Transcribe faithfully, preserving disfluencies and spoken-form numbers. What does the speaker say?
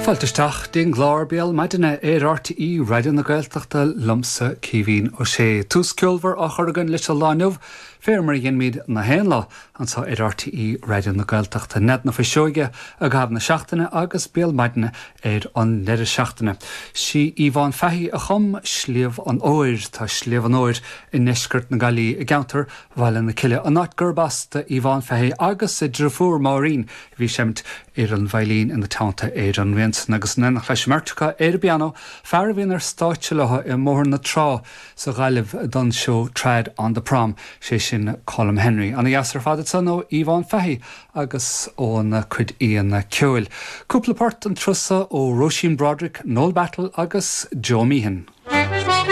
Fáilte isteach don gclár Béal Maidine ar R T É Raidió na Gaeltachta liomsa, Caoimhín Ó Sé. Tús ceolmhar á chur againn leis an lá inniu, fé mar a dhéanaimid gach aon lá anseo ar R T É Raidió na Gaeltachta. Nead na Fuiseoige i gcaitheamh na seachtaine agus Béal Maidine ar an deireadh seachtaine. Sí Yvonne Fahy a chum Sliabh an Óir. Tá Sliabh an Óir i ndeisceart na Gaillimhe i gceantar Bhaile na Cille, an áit gurb as d'Yvonne Fahy agus a deirfiúr Máirín, bhí ag seinm ar an veidhlín ina teannta ar an rian san agus in éineacht leis an mbeirt acu ar an bpianó, fear a bhíonn ar stáitse leo i mBóthar na Trá sa Ghaillimh don seó Trad on the Prom, sé sin Colm Henry. Ana-dheas ar fad san ó Yvonne Fahy agus óna cuid aíonna ceoil. Cúpla port an turas seo ó Róisín Broderick, Noel Battle agus Joe Meehan.